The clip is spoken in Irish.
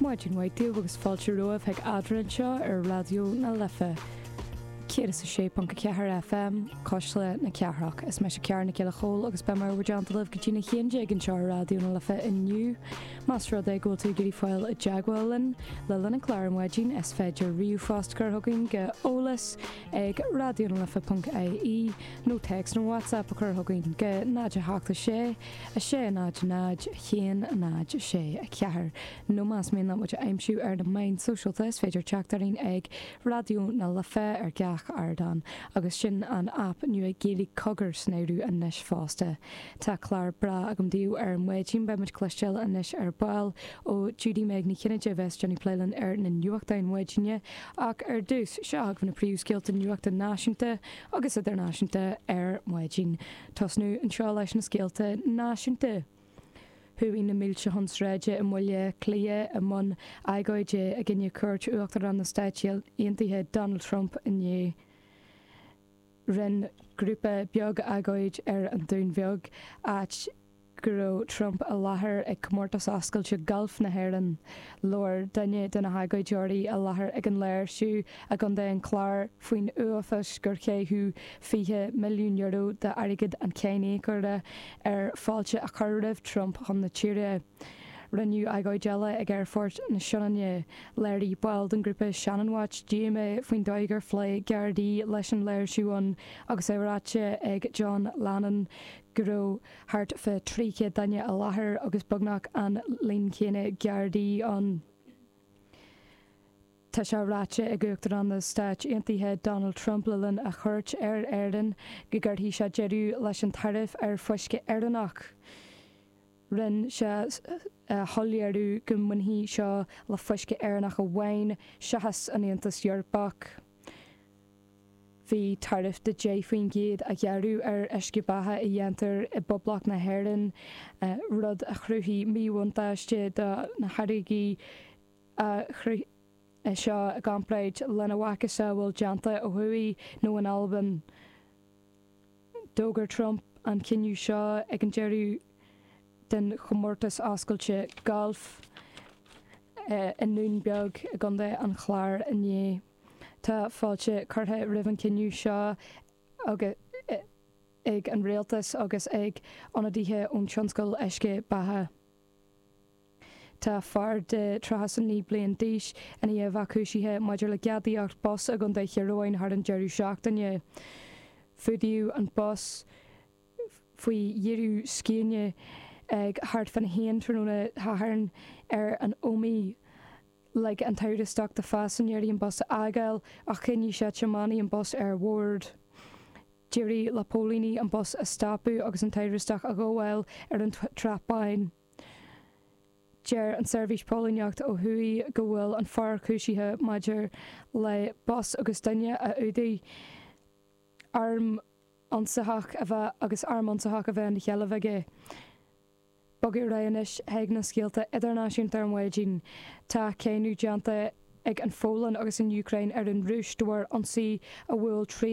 Maidin mhaith daoibh agus fáilte romhaibh chuig Eadrainn anseo ar Raidió na Life 106.4 FM, Cuisle na Cathrach. Is mise Ciara Nic Giolla Chóill agus beidh mé i bhur dteannta libh go dtína 11 anseo ar Raidió na Life inniu. Más rud é go bhfuil tú ag iarraidh fáil i dteagmháil linn le linn an chláir ar maidin, is féidir ríomhphost a chur chugainn go eolas ag raidionalife.ie nó téacs nó WhatsApp a chur chugainn go 0 8 6 6 0 0 1 0 6 4 nó más mian leat muid a aimsiú ar na meáin sóisialta is féidir teacht orainn ag Raidió na Life ar gach ardán agus sin an aip nua Gaeilge Cogar san áireamh anois fosta. Tá clár breá agam daoibh ar maidin. Beidh muid ag cloisteáil anois ar ball ó Judy Meg Ní Chinnéide a bheas ag déanamh plé linn ar na nuachtáin mhaidine. Ach ar dtús, seo chugaibh na príomhscéalta nuachta náisiúnta agus idirnáisiúnta ar maidin. Tosnú anseo leis na scéalta náisiúnta. Chuaigh na mílte chun sráide i mBaile Átha Cliath i mbun agóide i gcoinne cuairt Uachtarán na Stát Aontaithe Donald Trump inné. Rinne grúpa beag agóid ar an Dún Bheag, áit go raibh Trump i láthair ag Comórtas Oscailte Gailf na hÉireann. Labhair duine de na hagóideoirí i láthair ag an léirsiú i gContae an Chláir faoin uafás gur caitheadh €20 milliún d'airgead an cháiníocóra ar fáilte a chur roimh Trump chun na tíre. Rinneadh agóid eile ag Aerfort na Sionainne. Léirigh baill den ghrúpa Shannon Watch díomá faoin dóigh ar phléigh Gardaí leis an léirsiú ann agus é ráite ag John Lannon go raibh thart fá 300 duine i láthair agus beagnach an líon céanna Gardaí ann. Tá sé ráite ag Uachtarán na Stáit Aontaithe Donald Trump le linn a chuairt ar Éirinn go gcuirfidh sé deireadh leis an taraif ar fuisce Éireannach. Rinne sé a shoiléiriú go mbainfidh seo le fuisce Éireannach amháin seachas an Aontas Eorpach. Bhí taraif de 10% á ghearradh ar uisce beatha a dhéantar i bPoblacht na hÉireann, rud a chruthaigh míbhuntáiste do na táirgí seo i gcomparáid lena mhacasamhail déanta ó thuaidh nó in Albain. D'fhógair Trump an cinneadh seo ag an deireadh den chomórtas oscailte gailf i nDún Beag i gContae an Chláir inné. Tá fáilte curtha roimh an chinneadh seo ag an rialtas agus ag ionadaithe ón tionscal uisce beatha. Tá fear de 39 bliain d'aois i ndiaidh a bheith cúisithe maidir le gadaíocht bus i gContae Thír Eoghain thar an deireadh seachtaine. Fuadaíodh an bus faoi dheireadh scéine ag thart fán 1 tráthnóna Shathairn ar an Ómaigh. Lig an t-amhrastach do phaisinéirí an bus a fhágáil ach choinnigh sé tiománaí an bus ar bhord. D'éirigh le póilíní an bus a stopadh agus an t-amhrastach a ghabháil ar an tSrath Bán. Deir an tSeirbhís Póilíneachta ó thuaidh go bhfuil an fear cúisithe maidir le bus agus duine a fhuadaigh, arm ionsaitheach a bheith agus arm ionsaitheach a bheith ina sheilbh aige. Bogadh ar aghaidh anois chuig na scéalta idirnáisiúnta ar maidin. Tá cáineadh déanta ag an Pholainn agus an Úcráin ar an Rúis de bharr ionsaí a bhuail